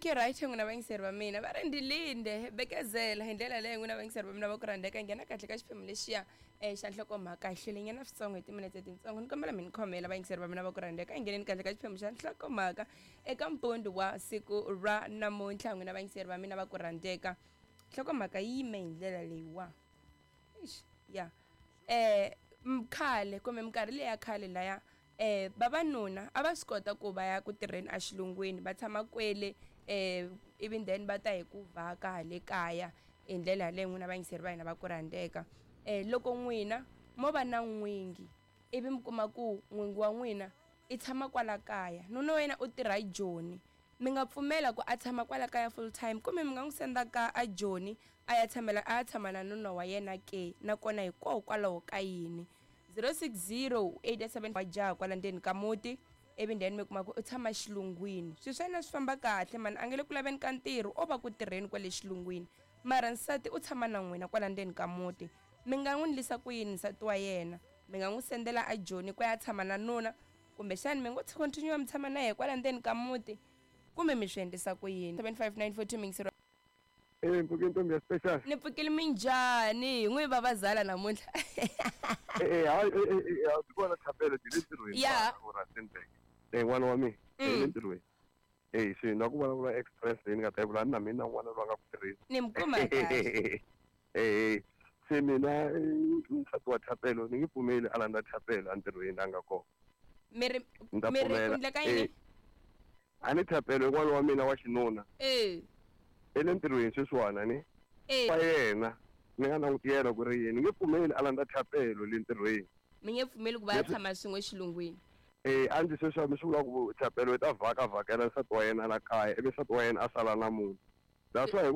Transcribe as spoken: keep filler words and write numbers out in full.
Okay, right, n'wina vayingiseri va mina va ri ndilinde bekezela hi ndlela leyi. N'wina vayingiseri va mina va ku rhandzeka, nghena kahle ka xiphemu lexiya um xa nhlokomhaka. Hi hlwele nyana switsongo hi timinetse tintsongo, ni kombela mi ni khomela, vayingiseri va mina va ku rhandzeka. Hi ngheneni kahle ka xiphemu xa nhlokomhaka eka mpundu wa siku ra namuntlha. N'wina vayingiseri va mina va ku rhandzeka, nhlokomhaka yi yime hi ndlela leyiwa. Ixi ya eh khale kumbe minkarhi leya khale laya, eh vavanuna a va swi kota ku va ya ku tirheni exilungwini, va tshama kwele, eh ivi then va ta hi ku vhaka hale kaya hi ndlela yaleyo. N'wina vayingiseri va hina va ku rhandzeka, eh loko n'wina mo va na n'wingi, ivi mi kuma ku n'wingi wa n'wina i tshama kwala kaya, nuna wa yena u tirha Joni, mi nga pfumela ku a tshama kwala kaya full time, kumbe mi nga n'wi senda ka a Joni a ya tshamela a ya tshama na nuna wa yena ke? Nakona hikokwalaho ka yini? zero six zero eight seven wa jaha kwala ndzeni ka muti, ivi then mi kuma ku u tshama xilungwini, swilo swa yena swi famba kahle mani, a nge le ku laveni ka ntirho, o va ku tirheni kwale xilungwini, mara nsati u tshama na n'wina kwala ndzeni ka muti, mi nga n'wi ndlisa ku yini nsati wa yena? Mi nga n'wi sendela a Joni ku ya tshama na nuna, kumbexani mi ngo continue mi tshama na yena kwala ndzeni ka muti, kumbe mi swi endlisa ku yini? seven five nine four two mingisero. Eh, mpfuke ntombi ya special. Ni pfukile, minjhani? Hi n'wi vavazala namuntlha. Eh, eh, hayi, eh, eh, eh, a swi kona Thapelo byi le ntirhweni. Ya. U Rustenburg. Eh, n'wana wa mina. Mm. Eh, le ntirhweni. Eh, se na ku vulavula express leyi ni nga ta yi vula na mina n'wana loyi a nga ku tirheni. Ni mi kuma kahle. Eh, se mina eh, nsati wa Thapelo ni nge pfumeli a landza Thapelo entirhweni a nga kona. Mi ri Ni ta mi ri pfumela. ku endleka yini? Eh, a ni Thapelo n'wana wa mina wa xinuna. Eh E le ntirhweni sweswiwani ni. Eh Wa yena ni nga languti yena ku ri yini, ni nge pfumeli a landza Thapelo le ntirhweni. Mi nge pfumeli ku va ya Leswi- tshama swin'we xilungwini? Eh, a ndzi sweswi mi swi vula ku Thapelo i ta vhaka vhakela nsati wa yena la kaya, ivi nsati wa yena a sala na munhu. That's why hi